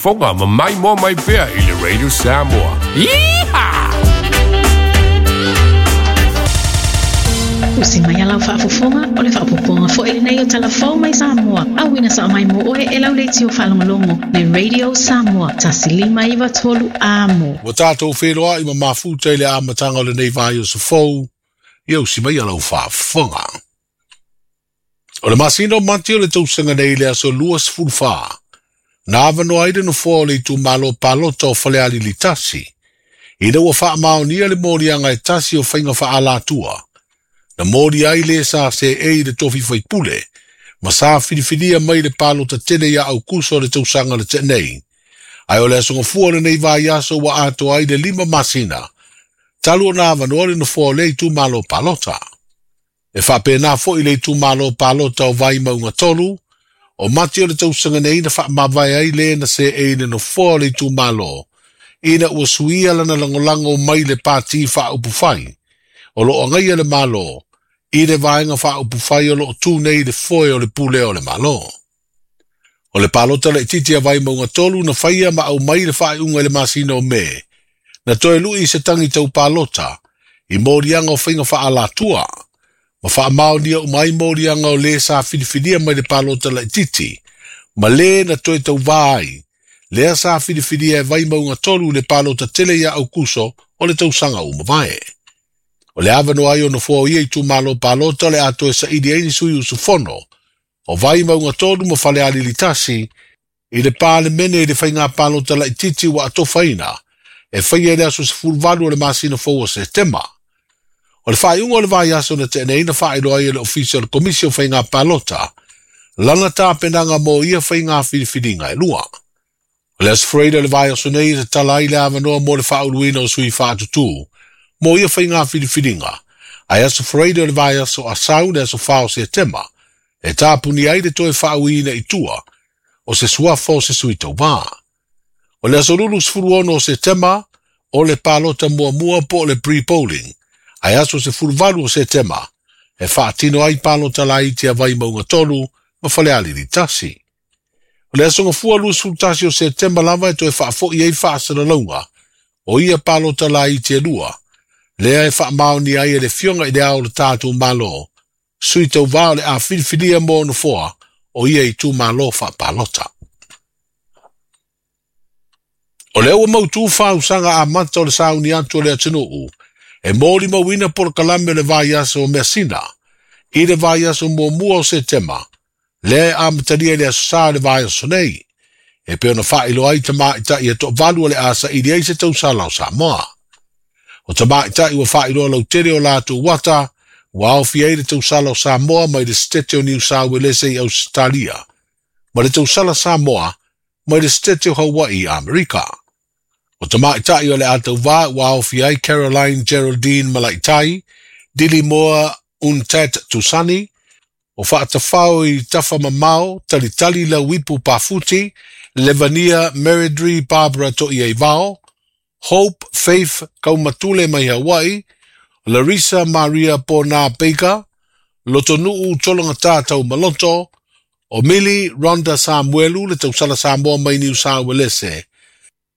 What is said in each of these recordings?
faafofoga ma maimoa mai pea i le Radio Samoa. Yeehaw! Usi mai a lau faafofoga, o le faaopoopoga foi lenei o Tala Fou mai Samoa, auina sao mai mo oe e lau leitio faalogologo, le Radio Samoa, 1593 Amo. Ua tatou feiloai ma mafuta i le amataga o lenei vaiaso fou, ia usi mai a lau faafofoga. O le masina o Mati o le tausaga nei i le aso 24, na avanoa ai le nofoa o le itumalo palota o Falealili 1, ina ua faamaonia le moliaga e tasi o faiga faaalatua, na molia ai le sa seei i le tofi faipule, ma sa filifilia mai le palota tele ia Aukuso o le tausaga le tenei. Ae o le aso gafua o lenei vaiaso ua atoa ai le 5 masina, talu ona avanoa le nofoa o lea itumalo palota. E faapena foi le itumalo palota o Vaimauga 3, o Mati o le tausaga nei na faamavae ai le na seei le nofoa o le itumalo, ina ua suia lana lagolago mai le pati faaupufai, o loo agaia le Malo, i le vaega faaupufai o loo tu nei le foe o le pulea o le Malo. O le palota laitiiti a Vaimauga 3 na faia ma aumai le faaiuga i le masina o Me, na toe lui i se tagi tau palota, i moliaga o faiga faaalatua, ma faamaonia uma ai moliaga o le sa filifilia mai le palota laitiiti, ma le na toe tauvā ai, lea sa filifilia e Vaimauga 3 le palota tele ia Aukuso o le tausaga ua mavae. O le avanoa ai o nofoa o ia itumalo palota o le a toe saili ai ni sui usufono o Vaimauga 3 ma Falealili 1 i le Palemene i le faiga palota laitiiti ua atofaina e faia i le aso 18 o le masina fou o Setema. O le faaiuga o le vaiaso na tea nei na faailoa ai e le Ofisa o le Komisi o Faiga Palota lana tapenaga mo ia faiga filifiliga e lua. O le aso Faraida o le vaiaso nei e tatala ai le avanoa mo le faauluina o sui faatutū mo ia faiga filifiliga, ae aso Faraida o le vaiaso asau le aso 4 o Setema e tapuni ai le toe faauiina i tua o se suafa o se sui tauvā. O le aso 26 o Setema o le palota muamua po o le pre-polling, ae aso 18 o Setema e faatino ai palota laiti a Vaimauga 3 ma Falealili 1. O le aso gafua 21 o Setema lava e toe faafoi ai faasalalauga o ia palota laiti e lua, lea e faamaonia ai e le Afioga i le Ao o le tatou Malo, sui tauvā o le a filifilia mo nofoa o ia itumalo faapalota. O lea ua mautū fausaga amata o le sauni atu o le atunuu, e molimauina polokalame o le vaiaso o Measina, i le vaiaso muamua o Setema, lea e amatalia i le aso Sa o le vaiaso nei, e pei ona faailoa ai tamaitai e toavalu o le a saili ai se tausala o Samoa. O tamaitai ua faailoa lautele o latou ata, ua aofia ai le tausala o Samoa mai le Setete o Niu Sauelese i Ausetalia, ma le tausala Samoa mai le Setete o Hawaii i Amerika. O tamaitai o le a tauvā ua aofia ai Caroline Geraldine Malaitai, Dilimoa Untat Tusani, o Faatafao i Tafamamao, Talitali Lauipu Pafuti, Levania Meredri Barbara To'iaivao, Hope Faith Kaumatule mai Hawaii, Larissa Maria Pona Baker, Lotonu'u Tologata Taumaloto, o Mili Rhonda Samuelu le tausala Samoa mai Niu Sauelese,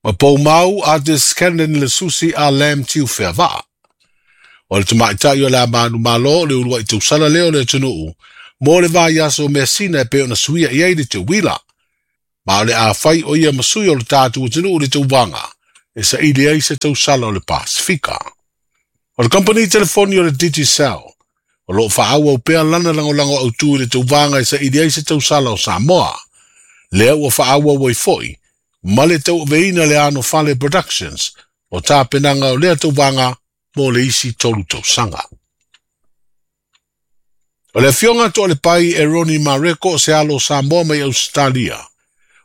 ma Poumau Artis Kenan Lesusi a Lam Tiu Feava'a. O le tamaitai o le a manumalo o le uluai tausala lea o le atunuu, mo le vaiaso o Measina e pei ona suia i ai le teuila. Ma o le a fai o ia ma sui o le tatou atunuu le tauvaga, e saili ai se tausala o le Pasifika. O le kamupani telefoni o le Digicel, o loo faaauau pea lana lagolago autū i le tauvaga e saili ai se tausala o Samoa. Lea ua faaauau ai foi, ma le tauaveina le Anofale Productions o tapenaga o lea tauvaga mo le isi 3 tausaga. O le afioga Toalepai e Roni Mareko o se alo o Samoa mai Ausetalia,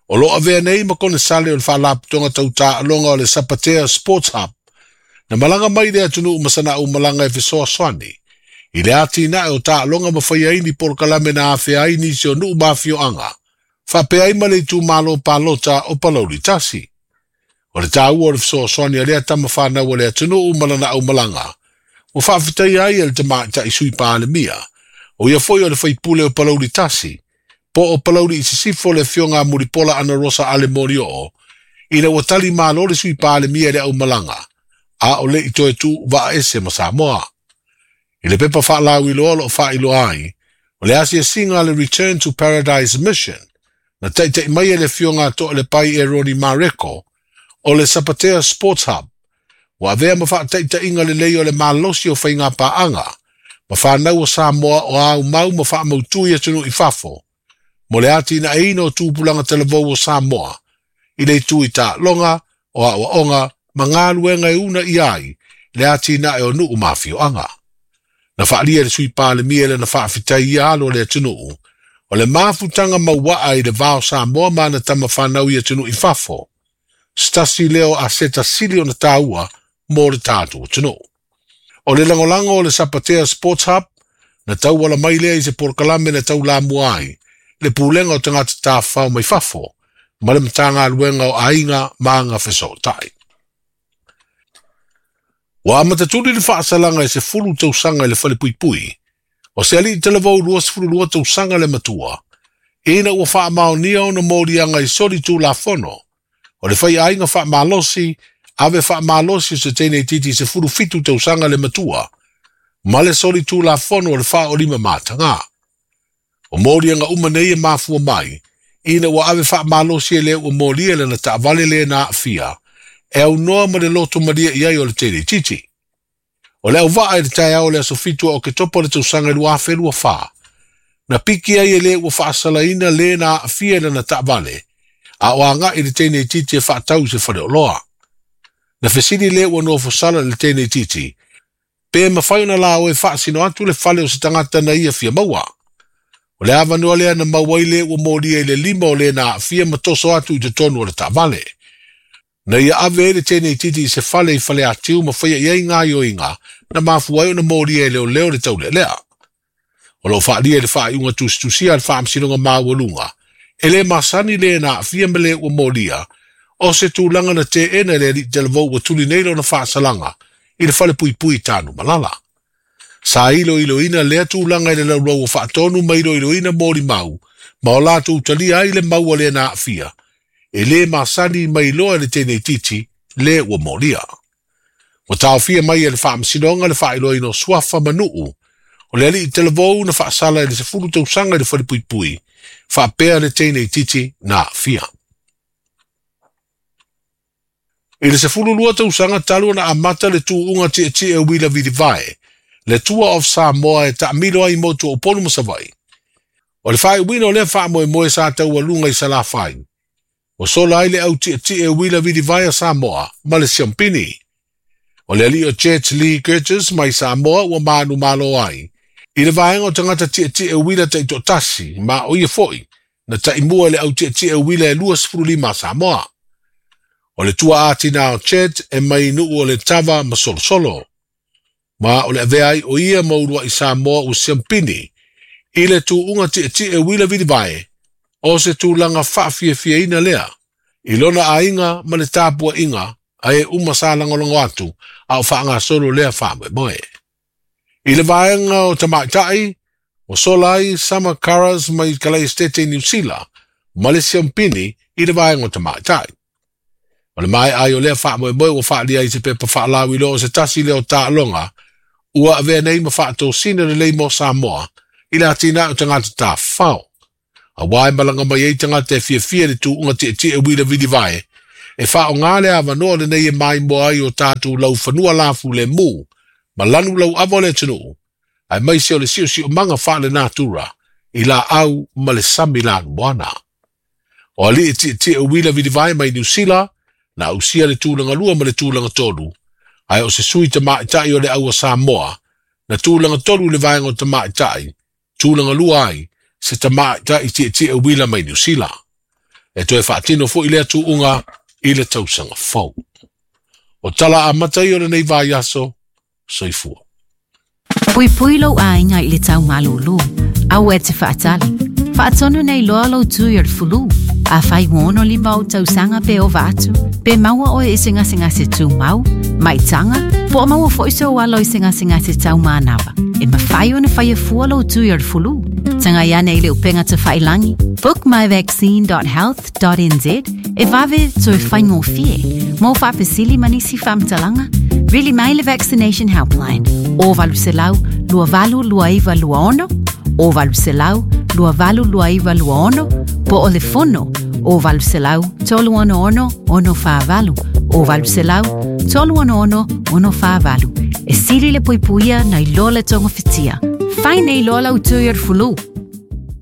o loo avea nei ma konesale o le faalapotopotoga tau taaloga o le Sapatea Sports Hub, na malaga mai le atunuu ma sana aumalaga e fesoasoani, i le atinae o taaloga ma faia ai ni polokalame na afea ai nisi o nuu ma afioaga, faapea ai ma le itumalo palota o Palauli 1. O le taua o le fesoasoani a lea tama whanau o le atunuu ma lana aumalaga, ua faafetaia ai e le tamaitai sui palemia, o ia foi o le faipule o Palauli 1, po o Palauli i Sisifo le afioga a Mulipola Anarosa Ale Molioo, ina ua tali malo le Sui Palemia i le aumalaga, a o le i toe tuuvaa ese ma Samoa. I le pepa faalauiloa o lo o faailoa ai, o le asiasiga a le Return to Paradise Mission, na taita'i mai e le afioga a Toalepai Eroni Mareko, o le Sapatea Sports Hub, ua avea ma faataitaiga lelei o le malosi o faiga paaga, ma fanau o Samoa o aumau ma faamautu i atunuu i fafo, mo le atinaeina o tupulaga talavou o Samoa, i le itu i taaloga, o aoaoga, ma galuega e uunaia ai le atinae o nuu ma afioaga. Na faaalia e le Sui Palemia lana faafetai i alo o le atunuu, o le mafutaga mauaa i le va o Samoa ma ana tama fanau i atunuu i fafo, se tasi lea o aseta sili ona taua mo le tatou atunuu. O le lagolago o le Sapatea Sports Hub, na tauala mai lea i se polokalame na taulamua ai le Pulega o Tagata Tafafao mai Fafo ma le Matagaluega o Aiga ma Agafesootai. Ua amatatuli le faasalaga e 10 tausaga i le falepuipui, o se alii talavou 22 tausaga le matua, ina ua faamaonia ona moliaga i soli tulafono, o le faiaiga faamalosi, ave faamalosi o se teine itiiti 17 tausaga le matua, ma le soli tulafono o le faaolima mataga. O moliaga uma nei e mafua mai, ina ua ave faamalosi e le ua molia lana taavale le na aafia, e aunoa ma le loto malie i ai o le teine itiiti. O le auvaa i le taeao o le aso 7 o Oketopa o le tausaga 2024, na piki ai e le ua faasalaina le na aafia i lana taavale, a o agai le teine itiiti e faatau i se faleoloa. Na fesili le ua nofosala i le teine itiiti, pe mafai ona laoe e faasino atu le fale o se tagata na ia fia maua. O le avanoa lea na maua ai le ua molia i le lima o le na aafia ma toso atu i totonu o le taavale. Na ia ave ai le teine itiiti i se fale i Faleatiu ma faia i ai gaoioiga na mafua ai ona molia e leoleo le taulealea. O lo o faaalia i le faaiuga tusitusia a le Faamasinoga Maualuga, e le masani le na aafia ma le ua molia, o se tulaga na teena e le alii talavou ua tuli nei lona faasalaga i le falepuipui i Tanumalala. Sa iloiloina lea tulaga i le laulau o faatonu ma iloiloina molimau, ma o latou talia ai le mau a le na aafia, e le masani mai loa e le teine itiiti le ua molia. Ua taofia mai e le Faamasinoga le faailoaina o suafa ma nuu, o le alii talavou na faasala i le 10 tausaga i le falepuipui, faapea le teine itiiti na aafia. I le 12 tausaga talu ona amata le tuuga tietie uila vilivae, le Tour of Samoa e taamilo ai motu o Upolu ma Savaii. O le faaiuina o lea faamoemoe sa taualuga i Salafai, ua sola ai le au tietie uila vilivae a Samoa ma le siampini. O le alii o Jet Lee Curtis mai Samoa ua manumalo ai, i le vaega o tagata tietie uila taitoatasi, ma o ia foi, na taimua i le au tietie uila e 25 a Samoa. O le tuaa tina o Chet e mai nuu o le Tava ma Solosolo. Ma o le avea ai o ia ma uluai Samoa ua siampini, i le tuuga tietie uila vilivae, o se tulaga faafiafiaina lea, i lona aiga ma le tapuaiga, a e uma sa lagolago atu, a o faagasolo lea faamoemoe. I le vaega o tamaitai, ua sola ai Summer Caras mai Kalaistete i Niu Sila, ma le siampini i le vaega o tamaitai. O le maea ai o lea faamoemoe ua faaalia ai se pepa faalauiloa o se tasi lea o taaloga, ua avea nei ma faatosina lelei mo Samoa i le atinae o tagata tafafao. Auā e malaga mai ai tagata e fiafia i le tuuga tietie uila vilivae, e faaaoga le avanoa lenei e maimoa ai o tatou laufanua lafulemu ma lanu lauava o le atunuu, aemaise o le siosiomaga faalenatura i laau ma le sami lanumoana. O alii tietie uila vilivae mai Niu Sila, na ausia le tulaga 2 ma le tulaga 3, ae o se sui tamaitai o le au a Samoa, na tulaga 3 i le vaega o tamaitai, tulaga 2 ai se tamaitai tietie uila mai Niu Sila. E toe faatino foi lea tuuga i le tausaga fou. O tala amata ia o lenei vaiaso, soifua. Puipui lou aiga i le tau malūlū. Aua e te faatali. Faatonu nei loa lou tui o le fulu. Afai ua 65 ou tausaga pe ova atu, pe maua oe i se gasegase tumau, maitaga, po o maua foi sou alo i se gasegase taumanava. E mafai ona faia fua lou tui o le fulu. Tagai ane i le upega tafailagi bookmyvaccine.health.nz e vave toe faigofie. Mo faafesili ma nisi faamatalaga, vili mai le Vaccination Helpline o 800 2829 26 o 800 2829 26 po o le fono o 800 366 648 o 800 366 648. E sili le puipuia nai lo le togafitia. Fai nei loa lau tui o le fulu.